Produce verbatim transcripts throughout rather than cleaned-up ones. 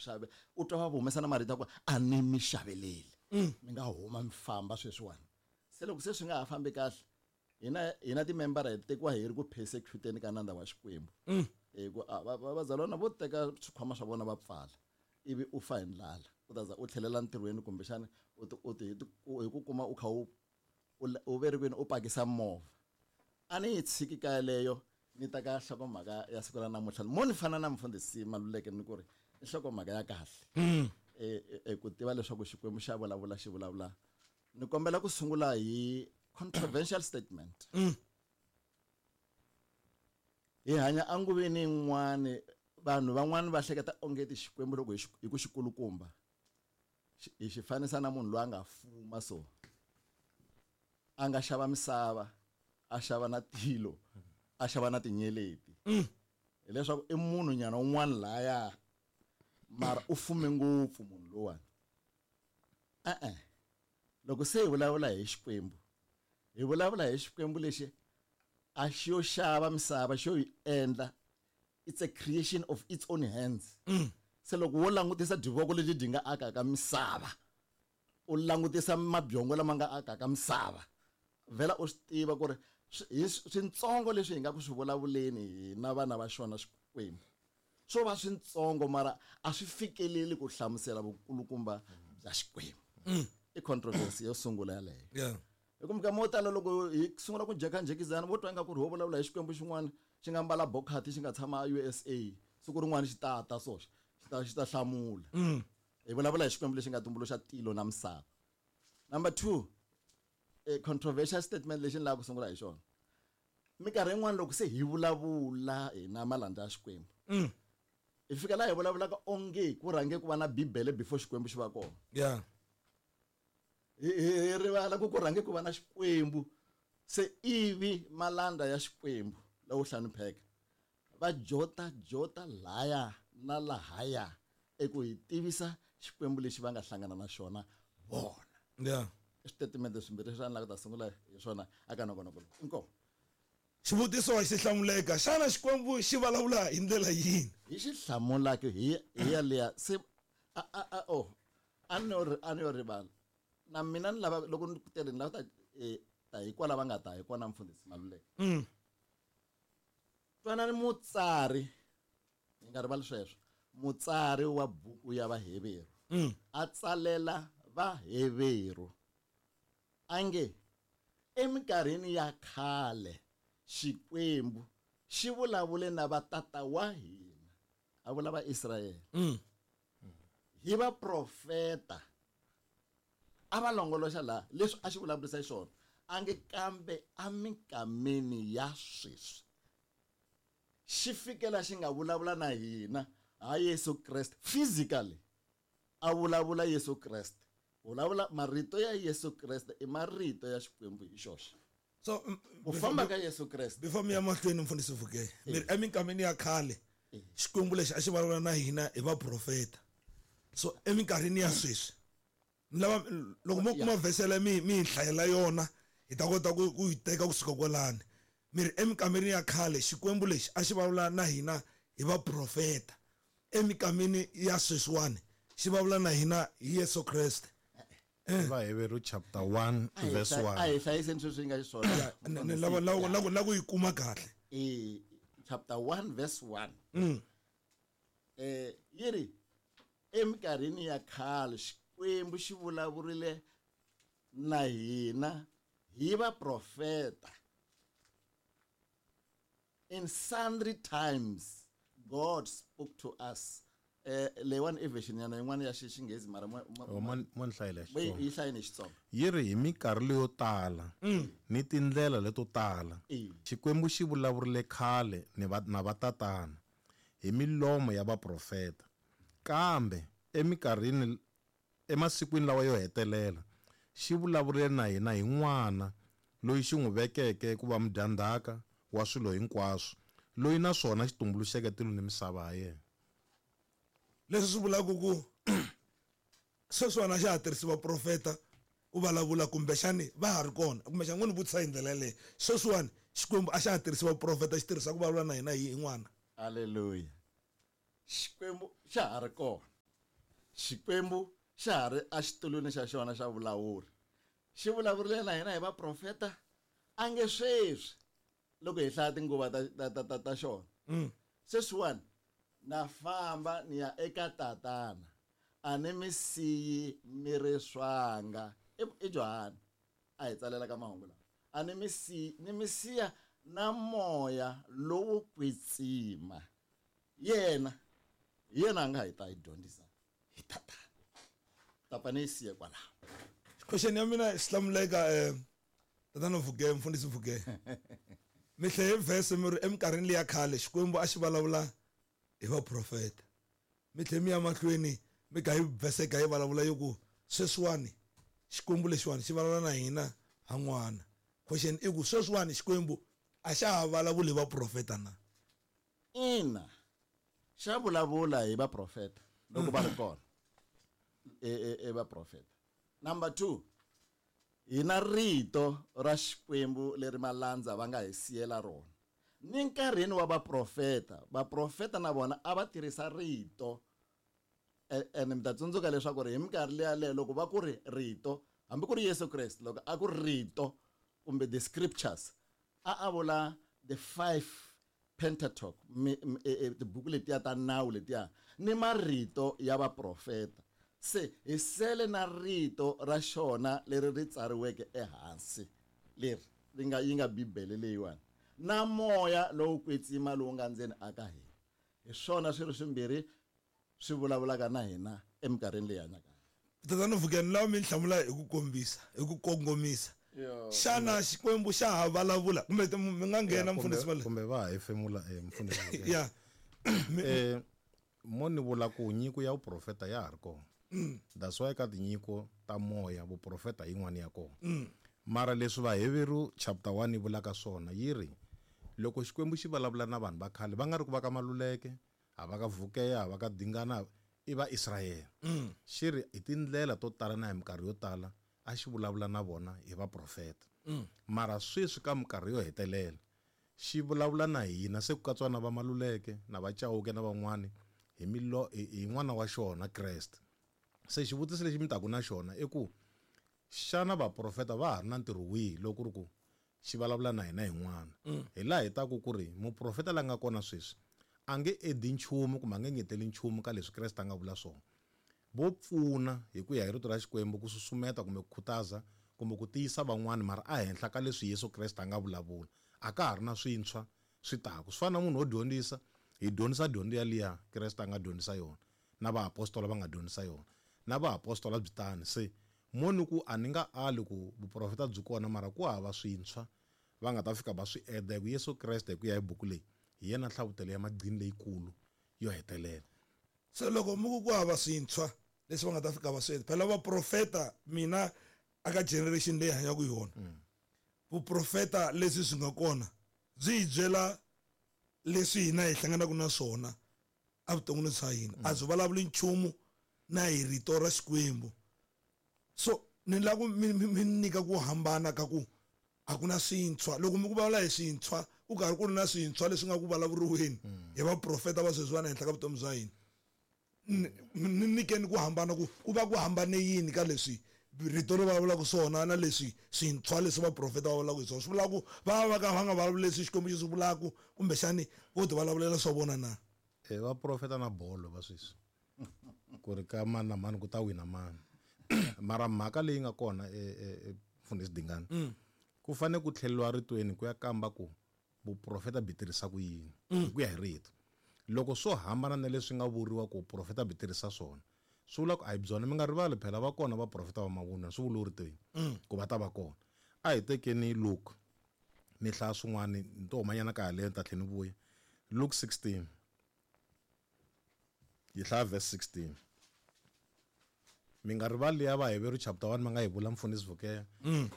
xave u twa va humesa na marito ya ku a ni mi xaveleli mi nga huma mi famba sweswiwani se loko se swi nga ha fambi kahle hina hina timembara hi tekiwa hi ri ku persecuteni ka nandza wa Xikwembu hi ku vazalwana vo teka swikhwama swa vona va pfala ivi u fa hi ndlala u ta za u tlhelela ntirhweni kumbexana u ti u ti hi ku kuma u kha u u ve ri kwini u pakisa movha a ni yi tshiki ka yeleyo ni ta ka nhlokomhaka ya siku ra namuntlha mo ni fana na mufundhisi Maluleke ni ku ri i nhlokomhaka ya kahle e ku tiva leswaku Xikwembu xa vulavula xi vulavula ni kombela ku sungula hi controversial statement hi hanya anguveni yin'wani vanhu van'wani va hleketa onge ti Xikwembu loko hi ku xikulukumba hi xi fanisa na munhu loyi a nga fuma so a nga xava misava a xava na tilo a xava na tinyeleti hileswaku i munhu nyana un'wana laya mara u fume ngopfu munhu lowani e-e loko se hi vulavula hi Xikwembu hi vulavula hi Xikwembu lexi a xi yo xava misava xo yi endla it's a creation of its own hands se loko wo langutisa divoko leti dyi nga akaka misava u langutisa mabyongo lama nga akaka misava vhela u swi tiva ku ri hi swintsongo leswi hi nga ku swi vulavuleni hina vana va xona Xikwembu swo va swintsongo mara a swi fikeleli ku hlamusela vukulukumba bya Xikwembu i controversy yo sungula yaleyo yeah hi ku mikama yo tala loko hi sungula ku jhekanjhekizana vo twa ingaku ri ho vulavula hi Xikwembu xin'wana xi nga mbala bokhati xi nga tshama U S A siku rin'wana xi tata so xi ta xi ta hlamula hi vulavula hi Xikwembu lexi nga tumbuluxa tilo na misava number two a controversial statement lexi ni lavaka ku sungula hi xona minkarhi yin'wana loko se hi vulavula hina malandza ya Xikwembu hi fika laha hi vulavulaka onge ku rhange ku va na Bibele before Xikwembu xi va kona yeah hi hi rivala ku ku rhange ku va na Xikwembu se ivi malanda ya Xikwembu lawo hlonipheka va jota jota laya na lahaya eku hi tivisa Xikwembu lexi va nga hlangana na xona vona yeah i switatimende swimbirhi leswi a ni lava ku ta sungula hi swona aka nongonoko lowu inkomu xivutiso a xi hlamuleka xana Xikwembu xi vulavula hi ndlela yini hi xi hlamulaka hi hi yaliya se a a a oh a ni yo a ni yo rivala na mina ni lava loko ni tele ni lava ta ta hi kwala va nga ta hi kona mfundhisi Maluleke twanani mutsari hi nga rivali sweswo mutsari wa buku ya Vaheveru a tsalela Vaheveru a nge eminkarhini ya khale Xikwembu xi vulavule na vatata wa hina a vula va Israyele hi vaprofeta a va longoloxa laha leswi a xi vulavurisa xona a nge kambe eminkameni ya sweswi xi fikela xi nga vulavula na hina ha Yesu Kreste physically a vulavula Yesu Kreste vulavula marito ya Yesu Kreste i marito ya Xikwembu hi xoxe so ku famba ka Yesu Kreste before mi ya mahlweni mfundhisi Vuke mi ri eminkameni ya khale Xikwembu lexi a xi vulavula na hina hi vaprofeta so eminkarhini ya sweswi ni lava loko mo kuma vesele mi mi hlayela yona hi ta kota ku ku yi teka kusuka kwalani mi ri eminkameni ya khale Xikwembu lexi a xi vulavula na hina hi vaprofeta emikameni ya sweswiwani xi vulavula na hina hi Yesu Kreste Vaheveru chapter one verse one a hi hlayiseni sweswi nga xiswona ni lava lava lava ku yi kuma kahle e chapter one verse one eh yi ri eminkarhini ya khale Xikwembu xi vulavurile na hina hi vaprofeta in sundry times God spoke to us eh leyiwani i version yana yin'wana ya Xinghezi mara mo ni hlayela Xitsonga yi hlayeni hi Xitsonga yi ri hi minkarhi leyo tala ni tindlela leto tala Xikwembu xi vulavurile khale ni va na vatatana hi milomo ya vaprofeta kambe eminkarhini emasikwini lawa yo hetelela xi vulavurile na hina hi n'wana loyi xi n'wi vekeke ku va mudyandzhaka wa swilo hinkwaswo loyi naswona xi tumbuluxeke tilo ni misava ha yena leswi swi vulaka ku sweswiwani a xa ha tirhisi vaprofeta ku vulavula kumbexani va ha ri kona kumbexani ngo ni vutisa hi ndlela yaleyo sweswiwani Xikwembu a xa ha tirhisi vaprofeta xi tirhisa ku vulavula na hina hi n'wana Haleluya Xikwembu xa ha ri kona Xikwembu xa ha ri exitulwini xa xona xa vulawuri. Xi vulavurile na hina hi vaprofeta a nge sweswi loko hi hlaya tinguva ta ta ta ta, ta xona. Mm. Sweswiwani na famba ni ya eka tatana a ni mi siyi mi ri swanga. I, i Johani a hi tsalela ka mahungu lawa. A ni mi siyi, ni mi siya na moya lowo kwetsima. Yena hi yena a nga hi ta hi dyondzisa hi tatana. Tapa ni yi siye kwalaho. Question ya mina xi hlamuleka eh tatana Vuge, mfundhisi Vuge. Mi hlaye verse mi ri eminkarhini liya khale Xikwembu a xi vulavula hi vaprofeta. Mi tlhe mi ya mahlweni mi ka hi verse ka yi vulavula yo ku sweswiwani Xikwembu lexiwani xi vulavula na hina ha n'wana. Question i ku sweswiwani Xikwembu a xa ha vulavuli hi vaprofeta na? Ina, xa vulavula hi vaprofeta loko va ri kona. E, e, e vaprofeta. Number two, hi na rito ra Xikwembu leri malandza va nga hi siyela rona. Ni nkarhini wa vaprofeta, vaprofeta na vona a va tirhisa rito. E, ene mi ta tsundzuka leswaku ri hi minkarhi liya leyo loko va ku ri rito, hambi ku ri Yesu Kreste loko a ku ri rito kumbe the scriptures, a a vula the five Pentateuch, mi, mi, e, e, tibuku letiya ta nawu letiya ni marito ya vaprofeta. Se hi sele na rito ra xona leri ri tsariweke ehansi leri ri nga yi nga Bibele leyiwani na moya lowu kwetsima lowu nga ndzeni aka hina. Hi swona swilo swimbirhi swi vulavulaka na hina eminkarhini leyi hanyaka. Tatana Vuge, ni lava mi hlamula hi ku kombisa, hi ku kongomisa. Xana Xikwembu xa ha vulavula kumbe mi nga nghena mfundhisi va le? Kumbe va ha hefemula, eh, mfundhisi va le. Yeah. Eh, mo ni vula ku nyiko ya vuprofeta ya ha ri kona. That's why ka tinyiko ta moya vuprofeta yin'wana ya kona. Mara leswi Vaheveru chapter one yi vulaka swona yi ri loko Xikwembu xi vulavula na vanhu va khale va nga ri ku va ka Maluleke, a va ka Vukeya, a va ka Dingana, i va Israyele. Xi ri hi tindlela to tala na hi minkarhi yo tala a xi vulavula na vona hi vaprofeta. Mara sweswi ka minkarhi yo hetelela xi vulavula na hina se ku katsiwa na va Maluleke na va Chauke na van'wani hi milo, hi, hi n'wana wa xona Kreste. Se xivutiso lexi mi taku na xona i ku xana vaprofeta va ha ri na ntirho wihi loko ku ri ku xi vulavula na hina hi n'wana? Hi laha hi taku ku ri muprofeta la nga kona sweswi a nge edi nchumu kumbe a nge ngeteli nchumu ka leswi Kreste a nga vula swona. Vo pfuna hi ku ya hi rito ra Xikwembu ku susumeta kumbe ku khutaza kumbe ku tiyisa van'wani, mara a henhla ka leswi Yesu Kreste a nga vulavula a ka ha ri na swintshwa swi taku. Swi fana na munhu wo dyondzisa, hi dyondzisa dyondzo yaliya Kreste a nga dyondzisa yona na vaapostola va nga dyondzisa yona na vaapostola byi tani. Se mo ni ku a ni nga ali ku vuprofeta byi kona, mara ku hava swintshwa va nga ta fika va swi eda hi ku Yesu Kreste hi ku ya hi buku leyi hi yena nhlavutelo ya magqini leyikulu yo hetelela. Se loko mi ku ku hava swintshwa leswi va nga ta fika va swi enda, phela vaprofeta mina aka generation leyi hanyaka yona, vuprofeta leswi swi nga kona byi hi byela leswi hina hi hlanganaka na swona evuton'wini bya hina. A byi vulavuli nchumu na hi rito ra Xikwembu. So ni lava ku mi, mi, mi nyika ku hambana ka ku a ku na swintshwa. Loko mi ku vulavula hi swintshwa, ku karhi ku ri na swintshwa leswi nga ku vulavuriweni hi vaprofeta va sweswiwani ehenhla ka vutomi bya hina. Ni, ni nyikeni ku hambana ku, ku va ku hambane yini ka leswi rito ri vulavulaka swona na leswi swintshwa leswi vaprofeta va vulavulaka hi swona. Swi vula ku va va ka va nga vulavuli leswi Xikwembu xi swi vulaka, kumbexani vo ti vulavulela swa vona na? Eh, vaprofeta na bolo va sweswi ku ri ka mani na mani ku ta wina mani. Mara mhaka leyi nga kona, eh, eh, eh, mfundhisi Dingani, ku fanele ku tlheleriwa ritweni ku ya kamba ku vuprofeta byi tirhisa ku yini hi ku ya hi rito. Loko swo hambana na leswi nga vuriwa ku vuprofeta byi tirhisa swona, swi vula ku a hi byona. Mi nga rivali phela va kona vaprofeta va mavunwa, swi vuriwe ritweni ku va ta va kona. A hi tekeni Luke, ni hlaya swin'wana, ni to humanyana ka yaleyo ni ta tlhela ni vuya. Luke sixteen, yi hlaya verse sixteen. Mi nga rivali ya Vaheveru chapter one ma nga yi vula mfundhisi Vukeya.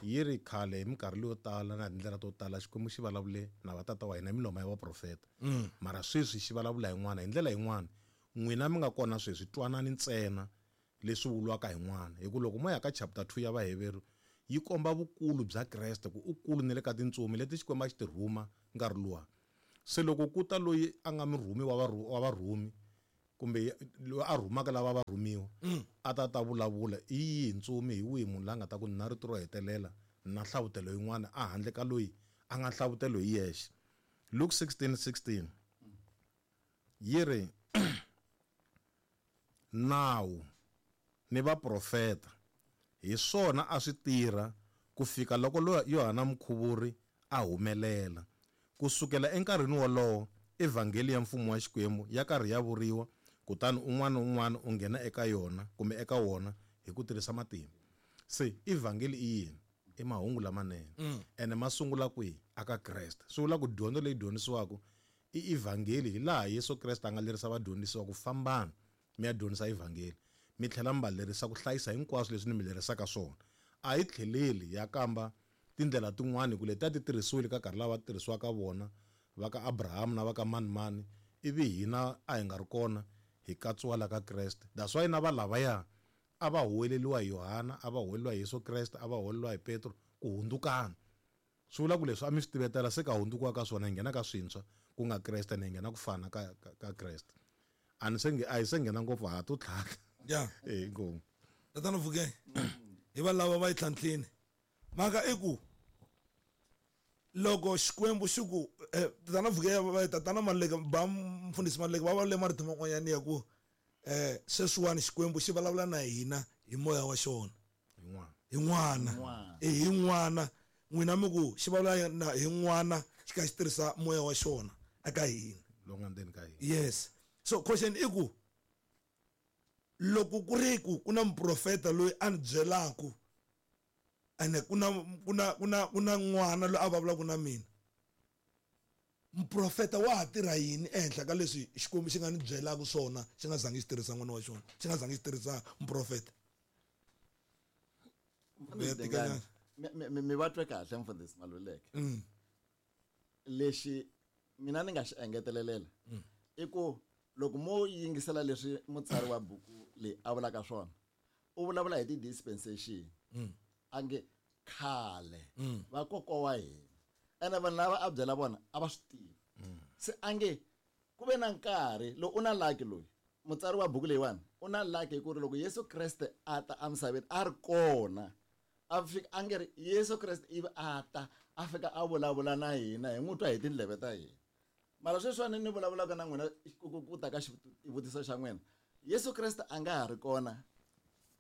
Yi ri khale hi minkarhi leyo tala na tindlela to tala Xikwembu xi vulavule na vatata wa hina hi milomo ya vaprofeta. Mara sweswi xi vulavula hi n'wana hi ndlela yin'wana. N'wina mi nga kona sweswi twanani ntsena leswi vuriwaka hi n'wana. Hi ku loko mo ya ka chapter two ya Vaheveru yi komba vukulu bya Kreste ku u kulu ni le ka tintsumi leti Xikwembu a xi ti rhuma nkarhi luwa. Se loko ku ta loyi a nga murhumi wa varhu-, wa varhumi Kumbe loyi a rhumaka lava va rhumiwa a ta ta vulavula i yihi ntsumi hi wihi munhu la nga ta ku na rito ro hetelela na hlavutelo yin'wana a handle ka loyi a nga hlavutelo hi yexe. Luke sixteen sixteen yi ri nawu ni vaprofeta hi swona a swi tirha ku fika loko Yohana Mukhuvuri a humelela. Ku sukela enkarhini wolowo evhangeli ya mfumo wa Xikwembu ya karhi ya vuriwa, kutani un'wana na un'wana u nghena eka yona kumbe eka wona hi ku tirhisa matimba. Se evhangeli i yini? I mahungu lamanene. Ene ma sungula kwihi? Aka Kreste. Swi vula ku dyondzo leyi dyondzisiwaka i evhangeli hi laha Yesu Kreste a nga lerisa vadyondzisiwa ku fambana mi ya dyondzisa evhangeli, mi tlhela mi va lerisa ku hlayisa hinkwaswo leswi ni mi lerisaka swona. A yi tlheleli ya kamba tindlela tin'wani ku leti a ti tirhisiwile ka nkarhi lava tirhisiwaka vona va ka Abraham na va ka mani mani, ivi hina a hi nga ri kona hi katsiwa la ka Kreste. That's why na va lavaya a va huweleliwa hi Yohana, a va huweleliwa hi Yesu Kreste, a va huweleliwa hi Petro ku hundzukana. Swi vula ku leswi a mi swi tivetela se ka hundzukiwa ka swona hi nghena ka swintshwa ku nga Kreste, ni hi nghena ku fana ka, ka, ka Kreste. A ni se nge, a hi se nghena ngopfu ha to tlhaka. Yeah. Eh, inkomu. Tatana Vuke, hi va lava va yi tlhantlhini. Mhaka i ku loko Xikwembu xi ku, eh, tatana Vuke, va, tatana Maluleke, ba mfundhisi Maluleke va vulavule marito man'wanyana ya ku, eh, sweswiwani Xikwembu xi vulavula na hina hi moya wa xona. Hi n'wana. Hi n'wana. N'wana. Eh, hi n'wana. N'wina mi ku xi vulavula na hi n'wana xi kha xi tirhisa moya wa xona eka hina. Lowu nga ndzeni ka hina. Yes. So question i ku loko ku ri ku ku na muprofeta loyi a ni byelaka ene ku na, ku na, ku na, ku na n'wana loyi a vulavulaka na mina, muprofeta wa ha tirha yini ehenhla ka leswi Xikwembu xi nga ni byelaka swona xi nga zangi xi tirhisa n'wana wa xona, xi nga zangi xi tirhisa muprofeta? Mfundhisi Dingane, mi, mi, mi, mi va twe kahle mfundhisi Maluleke. Mm. Lexi mina ni nga xi engetelelela Mm. i ku loko mo yingisela leswi mutsari wa buku leyi a vulaka swona, u vulavula hi ti-dispensation. Mm. A nge khale Mm. vakokwa wa hina, ene vanhu lava a byela vona a va swi tivi. Mm. Se a nge ku ve na nkarhi lowu u na lucky loyi mutsari wa buku leyiwani u na lucky hi ku ri loko Yesu Kreste a ta emisaveni a ri kona, a fika a nge ri Yesu Kreste ivi a ta a fika a vulavula na hina hi n'wi twa hi tindleve ta hina. Mara sweswiwani ni vulavulaka na n'wina ku, ku, ku ta ka xivutiso xa n'wina, Yesu Kreste a nga ha ri kona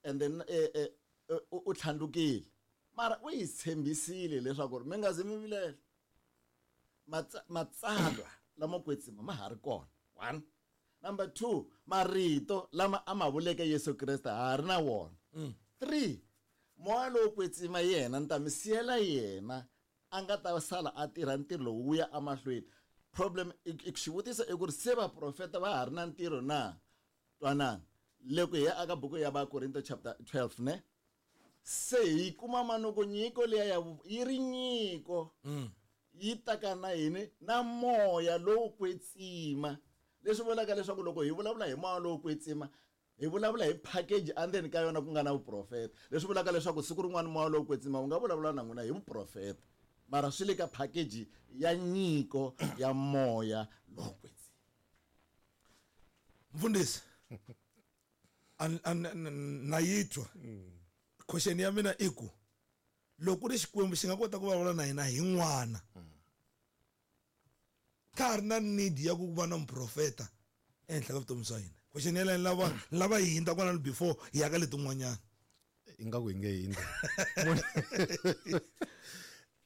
and then, eh, eh, eh, u, u tlhandlukile, mara u hi tshembisile leswaku ri mi nga zi mi vilela, Matsa-, matsalwa lamo kwetsima ma ha ri kona. One. Number two, marito lama a ma vuleke Yesu Kreste ha ri na wona. Mm. Three, moya lowo kwetsima yena ni ta mi siyela yena a nga ta sala a tirha ntirho lowu wu ya emahlweni. Problem i, i xivutiso i ku ri se vaprofeta va ha ri na ntirho na? Twanana. Loko hi ya aka buku ya Vakorinto chapter twelve ne? Se hi kuma manuku nyiko liya ya vu-, yi ri nyiko. Mm. Yi ta ka na yini? Na moya lowo kwetsima. Leswi vulaka leswaku loko hi vulavula hi moya lowo kwetsima, hi vulavula hi package endzeni ka yona ku nga na vuprofeta. Leswi vulaka leswaku siku rin'wana moya lowo kwetsima wu nga vulavula na n'wina hi vuprofeta, mara swi le ka package ya nyiko ya moya lowo kwetsima. Mfundhisi, an-, an-, an-, na yi twa. Question ya mina i ku loko ri Xikwembu xi nga kota ku vulavula na hina hi n'wana, ka ha ri na need ya ku va na muprofeta ehenhla ka vutomi bya hina. Question ya leyo lava, lava hi hundza kwalano before hi ya ka letin'wanyana. Ingaku hi nge hindzi.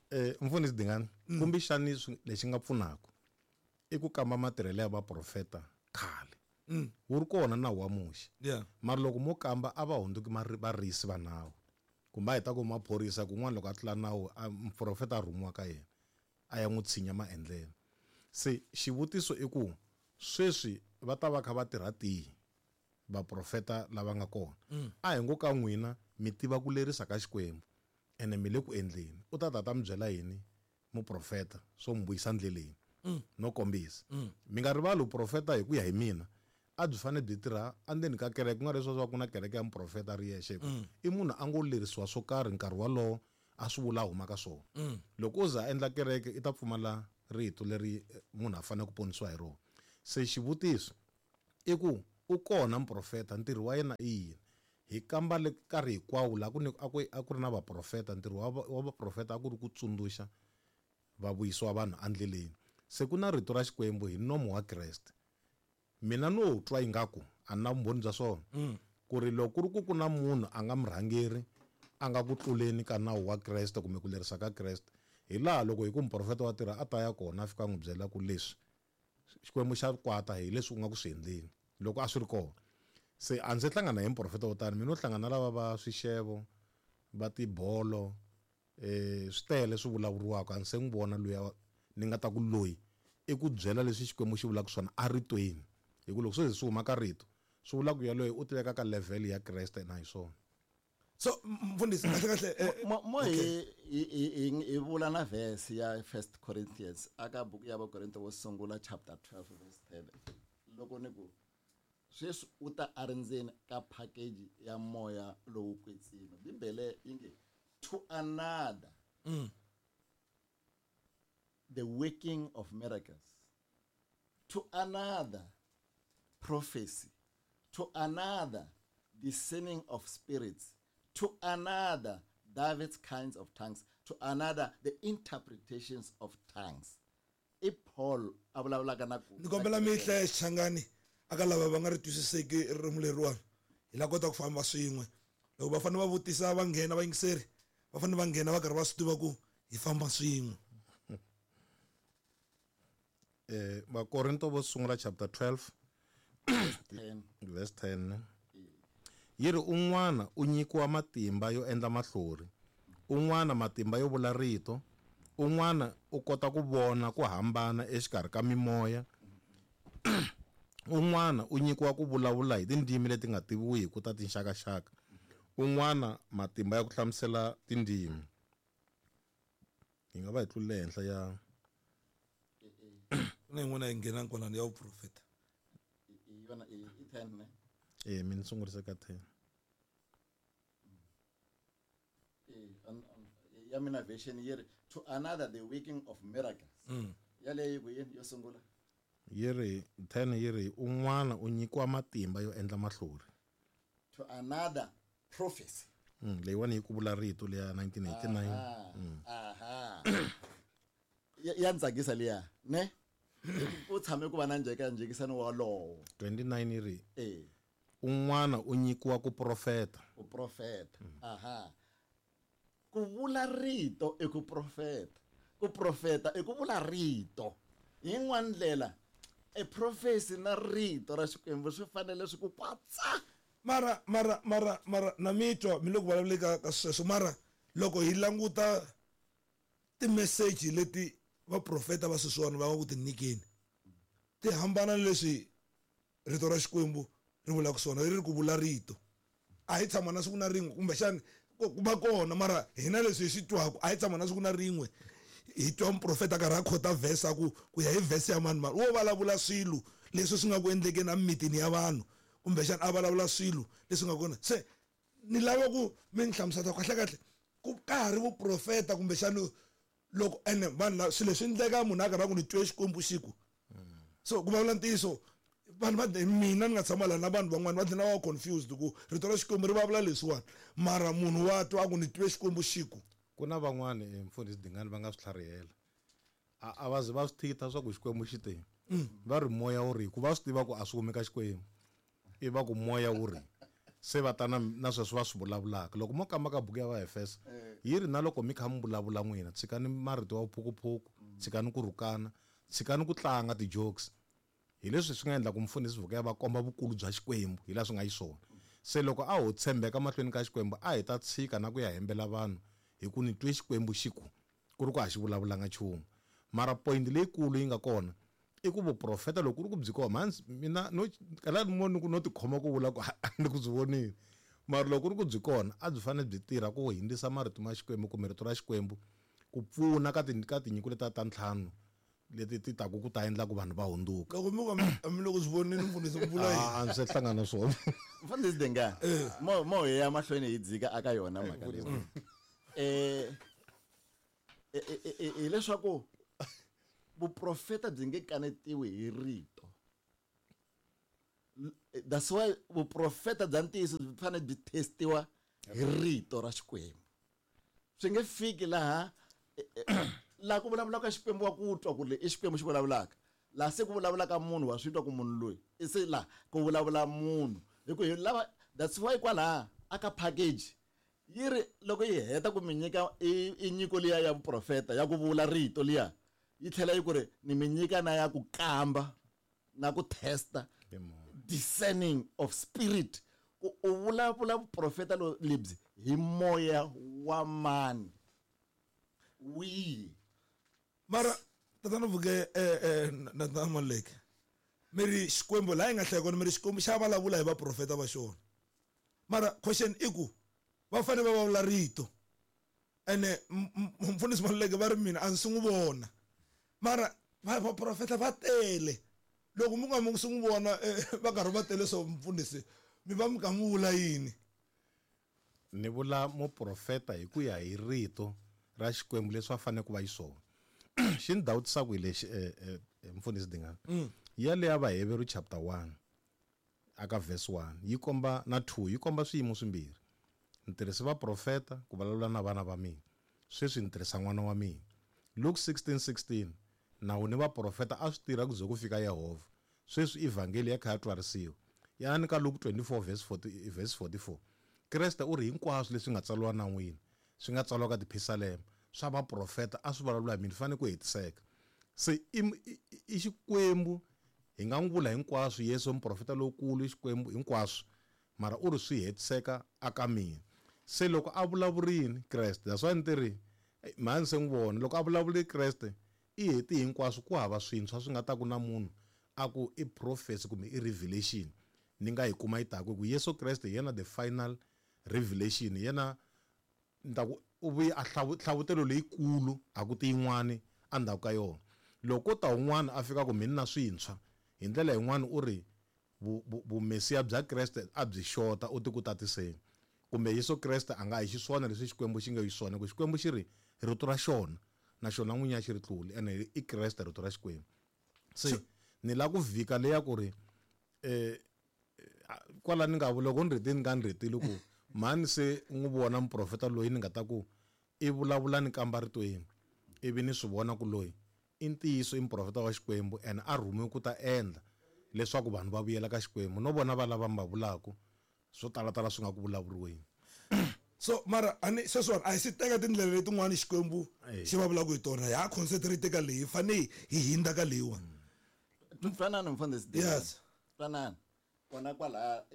Eh, mfundhisi Dingane, Mm. kumbexani swi-, lexi nga pfunaka i ku kamba matirhelo ya vaprofeta khale. Mm. Wu ri kona nawu wa Muxe. Yeah. Mara loko mo kamba a va hundzuki mari-, varisi va nawu. Kumbe a hi ta ku maphorisa kun'wana loko a tlula nawu, a muprofeta a rhumiwa ka yena a ya n'wi tshinya maendlelo. Se xivutiso i ku sweswi va ta va kha va tirha tihi vaprofeta lava nga kona? Mm. A hi ngo ka n'wina mi tiva ku lerisa ka Xikwembu ene mi le ku endleni. U ta ta ta mi byela yini muprofeta swo mi vuyisa ndleleni? Mm. No kombisa. Mm. Mi nga rivali vuprofeta hi ku ya hi mina a byi fanele byi tirha endzeni ka kereke, ku nga ri leswaku ku na kereke ya muprofeta ri yexe. Mm. I munhu a ngo lerisiwa swo karhi nkarhi wolowo a swi vula a huma ka swona. Mm. Loko o za a endla kereke i ta pfumala rito leri munhu a fanele ku ponisiwa hi rona. Se xivutiso i ku U kona muprofeta ntirho wa yena i yini? Hi kamba le nkarhi hinkwawo laha ku ni a ku a ku ri na vaprofeta ntirho wa wa vaprofeta a ku ri ku tsundzuxa va vuyisiwa vanhu endleleni. Se ku na rito ra Xikwembu hi nomo wa Kreste. Mina no twa ingaku a na vumbhoni bya swona ku ri loko ku ri ku ku na munhu a nga murhangeri a nga ku tluleni ka nawu wa Kreste kumbe ku lerisa ka Kreste hi laha loko hi ku muprofeta wa tirha a ta ya kona a fika a n'wi byela ku leswi Xikwembu xa kwata hi leswi u nga ku swi endleni loko a swi ri kona. Se a ndzi hlangana hi muprofeta wo tani mina no hlangana lava va swixevo va tibolo eh swi tele swi vulavuriwaka a ndzi se n'wi vona luya ni nga ta ku loyi i ku byela leswi Xikwembu xi vulaka swona a ritweni hi ku loko swi swi huma ka rito swi vula ku yaloye u tiveka ka level ya Kreste na hi swona. So mfundhisi kahle kahle mo mo hi hi hi vula na verse ya First Corinthians aka buku ya Vakorinto wo sungula chapter twelve verse ten loko ni ku sweswi u ta a ri ndzeni ka package ya moya lowu kwetsima Bibele yi nge to another mm. the working of miracles, to another prophecy, to another discerning of spirits, to another diverse kinds of tongues, to another the interpretations of tongues. I Paul a vulavulaka na ku ni kombela mi hlaya Xichangani aka lava va nga ri twisiseki ririmi leriwani hi la kota ku famba swin'we loko va fanele va vutisa va nghena va yingiseri va fanele va nghena va karhi va swi tiva ku hi famba swin'we. Eh Vakorinto vo sungula chapter twelve verse ten yi ri un'wana u nyikiwa matimba yo endla mahlori, un'wana matimba yo vula rito, un'wana u kota ku vona ku hambana exikarhi ka mimoya, un'wana u nyikiwa ku vulavula hi tindzimi leti nga tiviwiki ta tinxakaxaka, un'wana matimba ya ku hlamusela tindzimi. Hi nga va hi tlulele henhla ya na yin'wana yi nghena kwalano ya vuprofeta yona i ten ne eh mina sungurise ka ten eh ya mina version yi ri to another the working of miracles mm. yaleyo ku yini yo sungula yi ri ten yi ri un'wana u nyikiwa matimba yo endla mahlori to another prophecy mm leyiwani yi ku vula rito leya nineteen eighty-nine mm. Aha ya ntsakisa liya ne u tshame ku va na njheka njhekisano walowo twenty-nine yi ri eh un'wana u nyikiwa ku profeta ku profeta mm. Aha ku vula rito i ku profeta ku profeta i ku vula rito hi yin'wana ndlela e prophecy na rito ra Xikwembu swi fanele swi ku kwatsa mara mara mara mara na mitwa mi le ku vulavuleni ka ka sweswo mara loko hi languta ti-message leti vaprofeta va sweswiwani va nga ku ti nyikeni ti hambana leswi rito ra Xikwembu ri vulaka swona ri ri ku vula rito a hi tshama na siku na rin'we kumbexani ku va kona mara hina leswi hi swi twaka a hi tshama na siku na rin'we hi twa muprofeta karhi a khota verse a ku ku ya hi verse ya mani mani wo vulavula swilo leswi swi nga ku endlekeni emimitini ya vanhu kumbexani a vulavula swilo leswi nga kona se ni lava ku mi ni hlamusela kahle kahle ku ka ha ri vuprofeta kumbexani loko ene vanhu lava swilo leswi endleka munhu a karhi a ku ni twe Xikwembu xiku so ku vulavula ntiyiso vanhu va mina ni nga tshama laha na vanhu van'wana va dlina va confused ku rito ra Xikwembu ri vulavula leswiwani mara munhu wa twa a ku ni twe Xikwembu xiku ku na van'wani mfundhisi Dingani va nga swi tlharihela a a va zi va swi thita swa ku Xikwembu xi te va ri moya wu ri ku va swi tiva ku a swi humi ka Xikwembu i va ku moya wu ri se va ta na na sweswo va swi vulavulaka loko mo kamba ka buku ya Vaefesa yi ri na loko mi kha mi vulavula n'wina tshikani marito ya vuphukuphuku tshikani ku rhukana tshikani ku tlanga ti-jokes hi leswi swi nga endla ku mfundhisi Vuka ya va komba vukulu bya Xikwembu hi laha swi nga xiswona se loko a ho tshembeka mahlweni ka Xikwembu a hi ta tshika na ku ya hembela vanhu hi ku ni twe Xikwembu xi ku ku ri ku a xi vulavulanga nchumu mara point leyikulu yi nga kona i ku vuprofeta loko ku ri ku byi kona mhani mina no kala mo ni ku no tikhoma ku vula ku ni ku byi vonile mara loko ku ri ku byi kona a byi fanele byi tirha ku hundzisa marito ma Xikwembu kumbe rito ra Xikwembu ku pfuna ka ti ka tinyiko letiya ta ntlhanu leti ti taku ku ta endla ku vanhu va hundzuka loko mi ku mi loko swi vonile mfundhisi ku vula yini a ndzi se hlangana na swona mfundhisi Dingani mo mo hi ya mahlweni hi dzika aka yona mhaka leyi eh That's why vuprofeta bya ntiyiso byi fanele byi testiwa hi rito ra Xikwembu. Swi nge fiki laha laha ku vulavulaka Xikwembu wa ku twa ku le i Xikwembu xi vulavulaka. Laha se ku vulavulaka munhu wa swi twa ku munhu loyi i se laha ku vulavula munhu. Hi ku hi lava that's why kwalaha aka package yi ri loko yi heta ku mi nyika i nyiko liya ya vuprofeta ya ku vula rito liya yi tlhela yi ku ri ni mi nyika na ya ku kamba na ku testa discerning of spirit ku u vulavula vuprofeta lebyi hi moya wa mani wihi. Mara tatana Vuke eh eh na na Maluleke mi ri Xikwembu laha yi nga hlaya kona mi ri Xikwembu xa vulavula hi vaprofeta va xona. Mara question i ku va fanele va vulavula rito ene mfundhisi Maluleke va ri mina a ndzi n'wi vona mara vaprofeta va tele loko mi nga mi swi n'wi vona va karhi va tele so mfundhisi mi va mi ka mi vula yini? Ni vula muprofeta hi ku ya hi rito ra Xikwembu leswi a fanele ku va xiswona. Xi ni dawutisaka hi lexi mfundhisi Dingani ya le ya Vaheveru chapter one aka verse one yi komba na two yi komba swiyimo swimbirhi. Ni tirhise vaprofeta ku vulavula na vana va mina, sweswi ni tirhisa n'wana wa mina. Luke sixteen sixteen nawu ni vaprofeta a swi tirha ku ze ku fika Yehovha, sweswi evhangeli ya kha ya twarisiwa. Yani ka Luke twenty-four verse forty verse forty-four Kreste u ri hinkwaswo leswi nga tsariwa nawini swi nga tsariwa ka tiphisalema swa vaprofeta a swi vulavula hi mina fanele ku hetiseka. Se i Xikwembu hi nga n'wi vula hinkwaswo Yesu muprofeta lowukulu i Xikwembu hinkwaswo mara u ri swi hetiseka aka mina. Se loko a vulavurini Kreste that's why ni ti ri mhani se n'wi vona loko a vulavule Kreste i heti hinkwaswo ku hava swintshwa swi nga ta ku na munhu a ku i prophecy kumbe i revelation ni nga yi kuma yi taku ku Yesu Kreste yena the final revelation yena ni ta ku u vuye a hlavutelo leyikulu a ku ti yin'wani endzhaku ka yona. Loko ta un'wana a fika ku mina na swintshwa hi ndlela yin'wana u ri vumesiya bya Kreste a byi xota u ti ku tatiseni kumbe Yesu Kreste a nga hi xiswona leswi Xikwembu xi nga xiswona ku Xikwembu xi ri rito ra xona na xona n'winyi a xi ri tluli ene i Kreste rito ra Xikwembu. Se ni lava ku vhika leya ku ri eh kwala ni nga vula loko ni rhetile ni nga ni rhetile ku mhani se n'wi vona muprofeta loyi ni nga ta ku i vulavula ni kamba ritweni ivi ni swi vona ku loyi i ntiyiso i muprofeta wa Xikwembu ene a rhumiwe ku ta endla leswaku vanhu va vuyela ka Xikwembu no vona va lava mi va vulaka swo talatala swi nga ku vulavuriweni. So mara ani sweswiwani a hi si teka tindlela letin'wani Xikwembu xi va vulaka hi tona ha concentrate ka leyi hi fanele hi hindza ka leyiwani. Twanani mfundhisi. Yes. Twanani. Kona kwalaha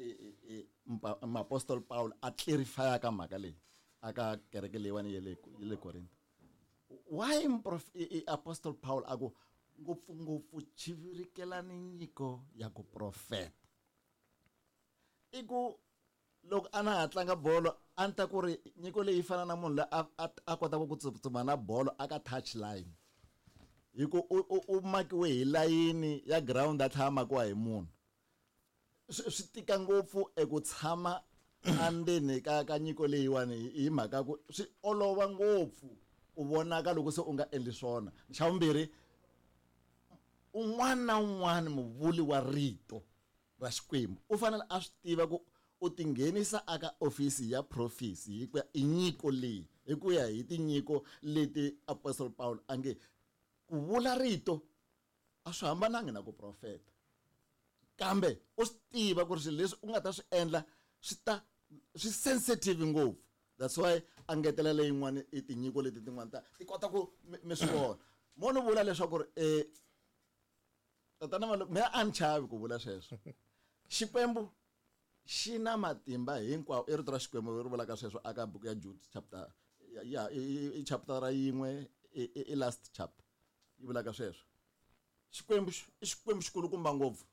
Apostle Paul a clarify ka mhaka leyi aka kereke leyiwani ya le ya le Korinto. Why Apostle Paul a ku ngopfungopfu chivirikelani nyiko ya ku profeta? I ku loko a na ha tlanga bolo a ni ta ku ri nyiko leyi fana na munhu loyi a a kotaka ku tsutsuma na bolo aka touch line hi ku u u makiwe hi layini ya ground a tlhela a makiwa hi munhu. Swi swi tika ngopfu eku tshama endzeni ka ka nyiko leyiwani hi mhaka ku swi olova ngopfu ku vonaka loko se u nga endli swona. Xa vumbirhi un'wana na un'wana muvuli wa rito ra Xikwembu u fanele a swi tiva ku u tinghenisa aka ofisi ya prophecy hi ku ya i nyiko leyi hi ku ya hi tinyiko leti Apostle Paul a nge ku vula rito a swi hambanangi na ku profeta kambe u swi tiva ku ri swilo leswi u nga ta swi endla swi ta swi sensitive ngopfu. That's why a ngetela leyin'wani i tinyiko leti tin'wana ta ti kota ku mi swi vona. Mo ni vula leswaku ri eh tatana Malume mina a ni chavi ku vula sweswo. Xikwembu xi na matimba hinkwawo i rito ra Xikwembu ri vulaka sweswo aka buku ya Jude chapter ya i chapter ra yin'we i last chapter yi vulaka sweswo. Xikwembu i Xikwembu xikulukumba ngopfu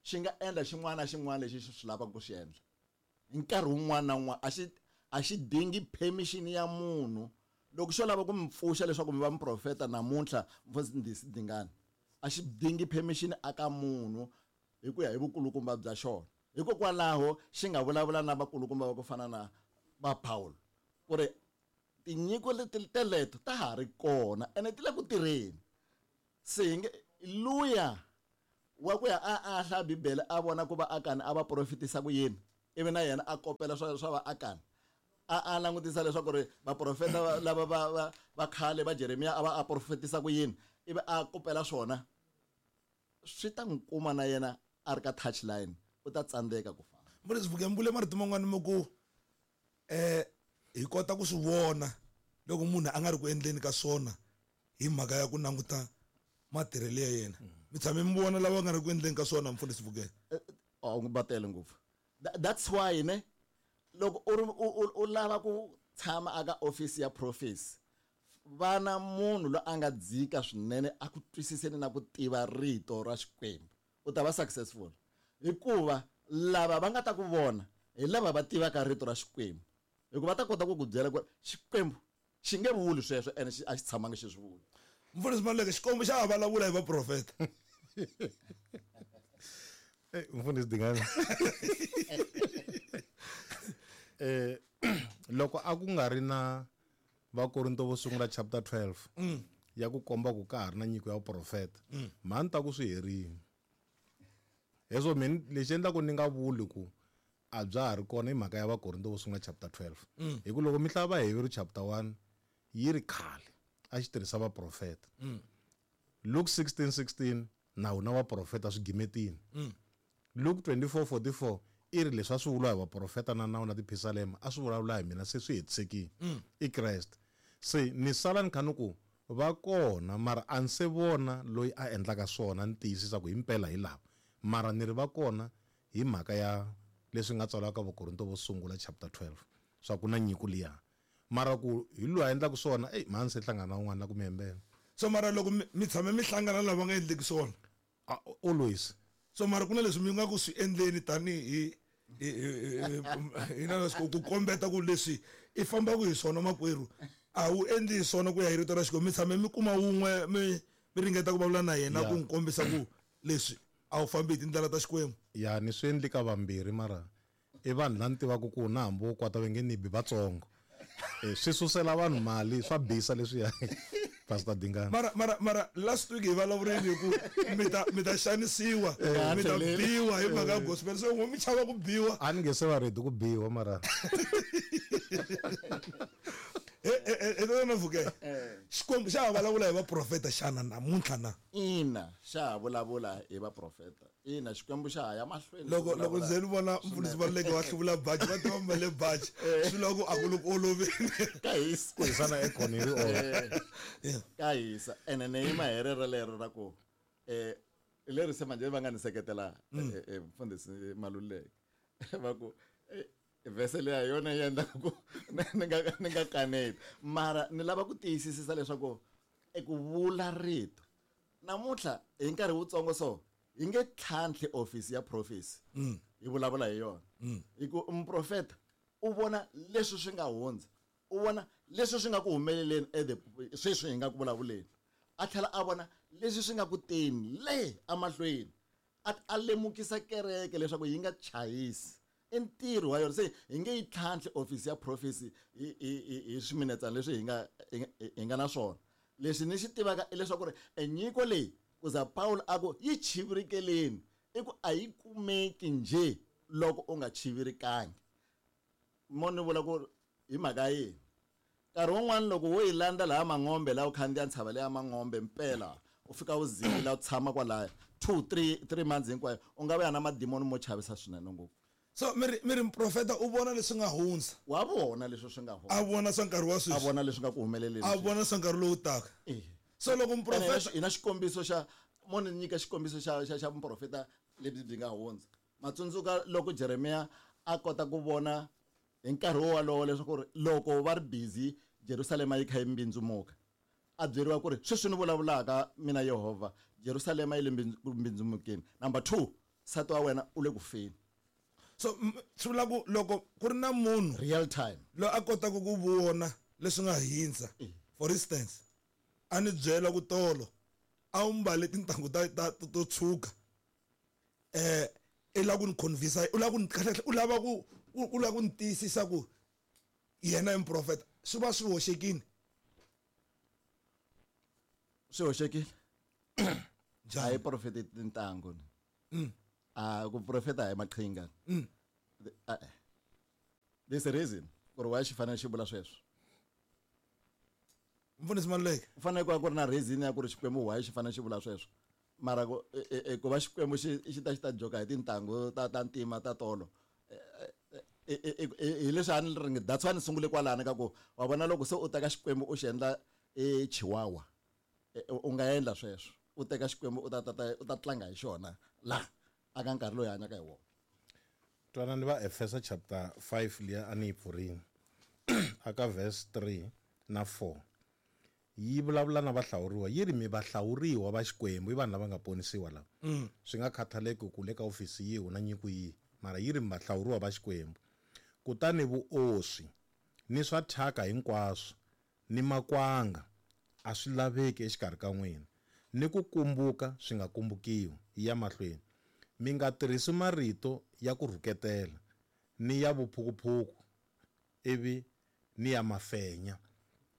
xi nga endla xin'wana na xin'wana lexi xi swi lavaka ku xi endla hi nkarhi wun'wana na wun'wana a xi a xi dingi permission ya munhu. Loko xo lava ku mi pfuxa leswaku mi va muprofeta namuntlha mfundhisi Dingani a xi dingi permission aka munhu hi ku ya hi vukulukumba bya xona. Hikokwalaho xi nga vulavula na vakulukumba va ku fana na va Paul ku ri tinyiko leti teleto ta ha ri kona ene ti le ku tirheni. Se hi nge luya wa ku ya a a hlaya Bibele a vona ku va Akani a va profetisa ku yini, ivi na yena a kopela swa swa va Akani. A a langutisa leswaku ri vaprofeta lava va va va khale va Jeremiya a va a profetisa ku yini, ivi a kopela swona, swi ta n'wi kuma na yena a ri ka touchline, u ta tsandzeka ku famba. Mfundhisi Vuke, mi vule marito man'wani mi ku eh hi kota ku swi vona loko munhu a nga ri ku endleni ka swona hi mhaka ya ku languta matirhelo ya yena. Mi tshame mi vona lava nga ri ku endleni ka swona, Mfundhisi Vuke? Oh, va tele ngopfu. That's why ne loko u u u lava ku tshama aka office ya prophecy, vana munhu loyi a nga dzika swinene a ku twisiseni na ku tiva rito ra Xikwembu, u ta va successful. Hikuva lava va nga ta ku vona hi lava va tivaka rito ra Xikwembu, hikuva va ta kota ku ku byela ku Xikwembu xi nge vuli sweswo ene a xi tshamangi xi swi vula. Mfundhisi Maluleke, Xikwembu xa ha vulavula hi vaprofeta. Eh, Mfundhisi Dingani. Eh, loko a ku nga ri na Vakorinto vo sungula chapter twelve ya ku komba ku ka ha ri na nyiko ya vuprofeta, mhani ta ku swi herile. Hezwo mina lexi endlaku ni nga vuli ku a bya ha ri kona i mhaka ya Vakorinto vo sungula chapter twelve. Hi ku loko mi hlaya Vaheveru chapter one yi ri khale a xi tirhisa vaprofeta. Luke sixteen sixteen na wona vaprofeta swi gimetini. Luke twenty-four forty-four i ri leswi a swi vuriwa hi vaprofeta na nawu na tiphisalema a swi vulavula hi mina se swi hetisekile. I Kreste. Se ni sala ni kha ni ku va kona mara a ni se vona loyi a endlaka swona ni tiyisisa ku himpela hi lava, mara ni ri va kona hi mhaka ya leswi nga tsariwa ka Vakorinto vo sungula chapter twelve swa ku na nyiko liya, mara ku hi loyi a endlaka swona ey mhani se hlangana na un'wana la ku mi hembela. So mara loko mi tshame mi hlangana lava nga endleki swona? Always. So mara ku na leswi mi nga ku swi endleni tanihi hi na leswi ku kombeta ku leswi i fambaka hi swona makwerhu a wu endli hi swona ku ya hi rito ra Xikwembu. Mi tshame mi kuma wun'we mi mi ringeta ku vulavula na yena ku n'wi kombisa ku leswi a wu fambi hi tindlela ta Xikwembu? Ya ni swi endli ka vambirhi, mara i vanhu la ni tivaka ku na hambi wo kwata va nge ni bi vatsongo. Swi susela vanhu mali swa bisa leswiya. Pastor Dingani. Mara mara mara last week hi vulavurile hi ku mi ta mi ta xanisiwa, mi ta biwa hi mhaka ya gospel, so n'we mi chava ku biwa. A ni nge se va ready ku biwa mara. Eh eh eh na Vuke. Xikwembu xa ha vulavula hi vaprofeta xana namuntlha na? Ina, xa ha vulavula hi vaprofeta. Ina, Xikwembu xa ha ya mahlweni. Loko loko nze ni vona Mfundhisi Maluleke wa hluvula baji, va tiva mbale baji, swi lava ku a ku le ku oloveni. Ka hisa. Ku hisana ekhoni ri olova. Ka hisa. Ene ni yima hi rero lero ra ku eh leri se manje va nga ni seketela Mfundhisi Maluleke. Va ku vhese leya yona yi endla ku ni nga ni nga kaneti, mara ni lava ku tiyisisa leswaku eku vula rito namuntlha hi nkarhi wutsongo so hi nge tlhantlhi office ya prophecy hi vulavula hi yona. Hi ku muprofeta u vona leswi swi nga hundza, u vona leswi swi nga ku humeleleni sweswi hi nga ku vulavuleni, a tlhela a vona leswi swi nga ku teni le emahlweni, a a lemukisa kereke leswaku yi nga chayisi. I ntirho wa yona. Se hi nge yi tlhantlhi office ya prophecy hi hi hi swiminetsana leswi hi nga hi nga na swona. Leswi ni xi tivaka i leswaku ri enyiko leyi ku za Paul a ku yi chivirikeleni, i ku a yi kumeki njhe loko u nga chivirikangi. Mo ni vula ku hi mhaka yini nkarhi wun'wani loko wo yi landza laha Mangombe laha u khandziya ntshava leya Mangombe mpela u fika u zila u tshama kwalaya two three three months hinkwayo, u nga vuya na madimoni mo chavisa swinene ngopfu. So miri miri muprofeta u vona leswi nga hundza. Wa vona leswi swi nga hundza. A vona swa nkarhi wa sweswi. A vona leswi nga ku humeleleni. A vona swa nkarhi lowu taka. So loko muprofeta ina xikombiso xa mo ni nyika xikombiso xa xa xa muprofeta lebyi byi nga hundza. Matsundzuka loko Jeremiya a kota ku vona hi nkarhi wolowo leswaku loko va ri busy Jerusalema yi kha yi mbindzumuka, a byeriwa ku ri sweswi ni vulavulaka mina Yehovha, Jerusalema yi le mbindzumukeni. Number two, nsati wa wena u le ku feni. So swi vula ku loko ku ri na munhu real time loyi a kotaka ku vona leswi nga hindza, for instance a ni byela ku tolo a wu mbale tintangu ta ta to tshuka, eh i lava ku ni convince, u lava ku ni u lava ku u lava ku ni tiyisisa ku yena i muprofeta, swi va swi hoxekile. Swi hoxekile. A yi profeti tintangu ni. A ku profeta hi maqhinga. There's a reason ku ri why xi fanele xi vula sweswo. Mfundhisi Maluleke. Ku fanele ku va ku ri na reason ya ku ri Xikwembu why xi fanele xi vula sweswo. Mara ku ku va Xikwembu xi xi ta xi ta joka hi tintangu ta ta ntima ta tolo. Hi leswi a ni ri that's why ni sungule kwalano ka ku wa vona loko se u teka Xikwembu u xi endla e chihuahua u nga endla sweswo. U teka Xikwembu u ta ta u ta tlanga hi xona la aka nkarhi lowu hi hanyaka hi wona. Twanani va Efesa chapter five liya a ni yi pfurini aka verse three na four. Yi vulavula na vahlawuriwa yi ri mi vahlawuriwa va Xikwembu i vanhu lava nga ponisiwa lava. Swi nga khathaleki ku le ka ofisi yihi u na nyiko yihi mara yi ri mi vahlawuriwa va Xikwembu. Kutani vuoswi ni swa thyaka hinkwaswo ni makwanga a swi laveki exikarhi ka n'wina ni ku kumbuka swi nga kumbukiwi ya mahlweni. Mi nga tirhisi marito ya ku rhuketela ni ya vuphukuphuku ivi ni ya mafenya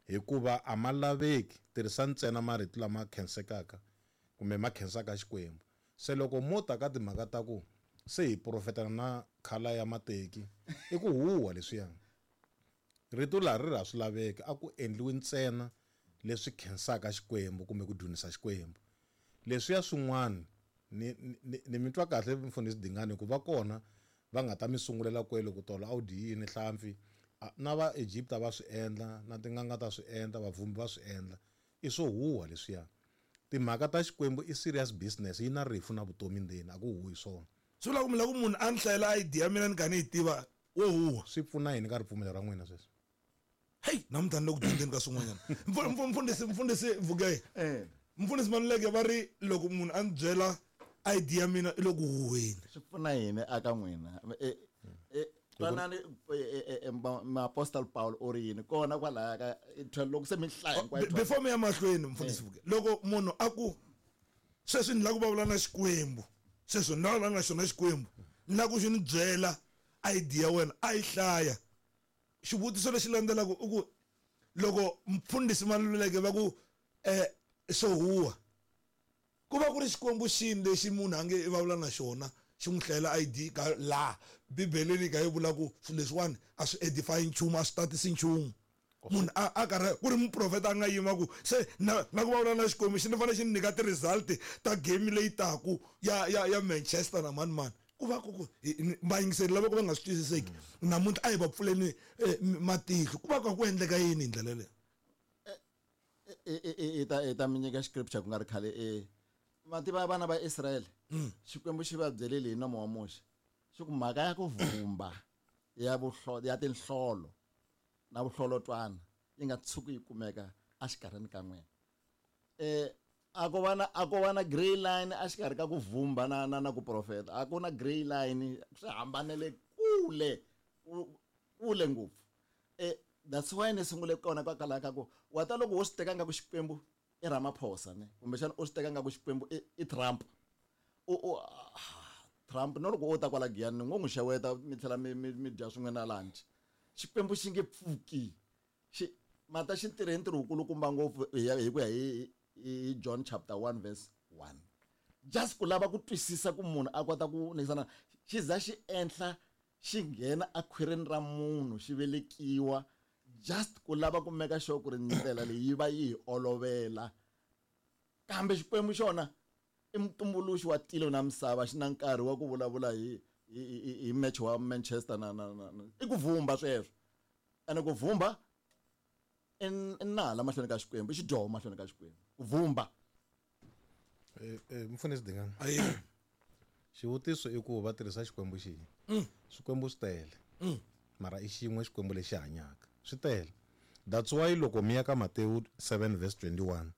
hikuva a ma laveki tirhisa ntsena marito lama khensekaka kumbe ma khensaka Xikwembu. Se loko mo ta ka timhaka ta ku se hi profetana na khala ya mateki i ku huwa leswiya. Rito laha ri ra swi laveki a ku endliwi ntsena leswi khensaka Xikwembu kumbe ku dzunisa Xikwembu. Leswiya swin'wana ni ni ni mi twa kahle mfundhisi Dingane ku va kona va nga ta mi sungulela kwele ku tolo a wu dyi yini hlampfi na va Egypta va swi endla na tin'anga ta swi endla vavhumbi va swi endla i swo huwa leswiya. Timhaka ta Xikwembu i serious business yi na rifu na vutomi ndzeni a ku huwi swona. Swi vula ku mi lava ku munhu a ni hlayela I D ya mina ni kha ni yi tiva wo huwa. Swi pfuna yini ka ripfumelo ra n'wina sweswi? Hey, namuntlha ni le ku dyondzeni ka swin'wanyana. Mfundhisi mfundhisi Vukeye. Mfundhisi Maluleke va ri loko munhu a ni byela I D ya mina i le ku huweni. Swi pfuna yini aka n'wina? Twanani Apostle Paul u ri yini kona kwalaya ka loko se mi hlaya hinkwayo. Before mi ya mahlweni mfundhisi Vukeye, loko munhu a ku sweswi ni lava ku vulavula na Xikwembu, sweswi ni lava na xona Xikwembu, ni lava ku xi ni byela I D ya wena a yi hlaya. Xivutiso lexi landzelaka i ku loko mfundhisi Maluleke va ku eh swo huwa ku va ku ri Xikwembu xini lexi munhu a nge i vulavula na xona xi n'wi hlayela I D ka laha Bibeleni ka yi vula ku swilo leswiwani a swi edify nchumu a swi tatisi nchumu. Munhu a a karhi ku ri muprofeta a nga yima ku se na na ku vulavula na Xikwembu xi ni fanele xi ni nyika ti-result ta game leyi taku ya ya ya Manchester na mani mani. Ku va ku ku vayingiseri lava ku va nga swi twisiseki namuntlha a hi va pfuleni matihlo ku va ku ku endleka yini hi ndlela leyo. I ta i ta mi nyika scripture ku nga ri khale e mativa vana va Israel Xikwembu xi va byelile hi nomo wa Muxe xi ku mhaka ya ku vhumba ya vuhlo ya tinhlolo na vuhlolotwana yi nga tshuki yi kumeka exikarhini ka n'wina. Eh a ko va na a ko va na grey line exikarhi ka ku vhumba na na na ku profeta a ku na grey line swi hambanele kule kule ngopfu. Eh that's why ni sungule kona kwalaya ka ku wa ta loko wo swi teka nga ku Xikwembu i Ramaphosa ne kumbexana u swi teka nga ku Xikwembu i i Trump u u Trump no loko o ta kwala Giyani ni ngo n'wi xeweta mi tlhela mi mi mi dya swin'we na lunch. Xikwembu xi nge pfuki xi mata xi tirhe ntirho wukulukumba ngopfu hi ku ya hi hi John chapter one verse one. Just ku lava ku twisisa ku munhu a kota ku nisana xi za xi enhla xi nghena akhwirini ra munhu xi velekiwa just ku lava ku meka sure ku ri ndlela leyi yi va yi hi olovela. Kambe Xikwembu xona i mutumbuluxi wa tilo na misava xi na nkarhi wa ku vulavula hi hi hi match wa Manchester na na na i ku vhumba sweswo. Ene ku vhumba i nala mahlweni ka Xikwembu i xidyoho mahlweni ka Xikwembu ku vhumba. Eh mfundhisi Dingane. Ayi. Xivutiso i ku va tirhisa Xikwembu xihi? Swikwembu swi tele. Mara i xin'we Xikwembu lexi hanyaka. Swi tele. That's why loko mi ya ka Matewu seven verse twenty-one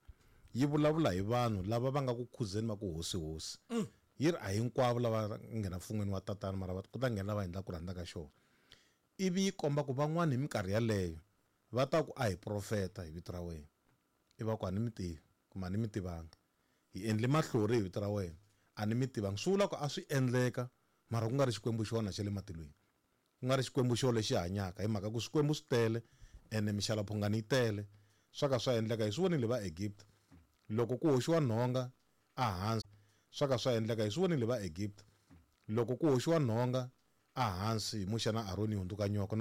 yi vulavula hi vanhu lava va nga ku khuzeni va ku hosi hosi. Yi ri a hinkwavo lava nghena mfun'weni wa tatana mara va ku ta nghena lava endlaka ku rhandza ka xona. Ivi yi komba ku van'wani hi minkarhi yaleyo va ta ku a hi profeta hi vito ra wena. I va ku a ni mi tivi kumbe a ni mi tivanga. Hi endle mahlori hi vito ra wena a ni mi tivanga. Swi vula ku a swi endleka mara ku nga ri Xikwembu xona xa le matilweni. Ku nga ri Xikwembu xo lexi hanyaka hi mhaka ku swikwembu swi tele ene mixalaphungani yi tele. Swa ka swa endleka hi swi vonile va Egypt loko ku hoxiwa nhonga ehansi swa ka swa endleka hi swi vonile va Egypt loko ku hoxiwa nhonga ehansi hi Muxe na Aroni yi hundzuka nyoka.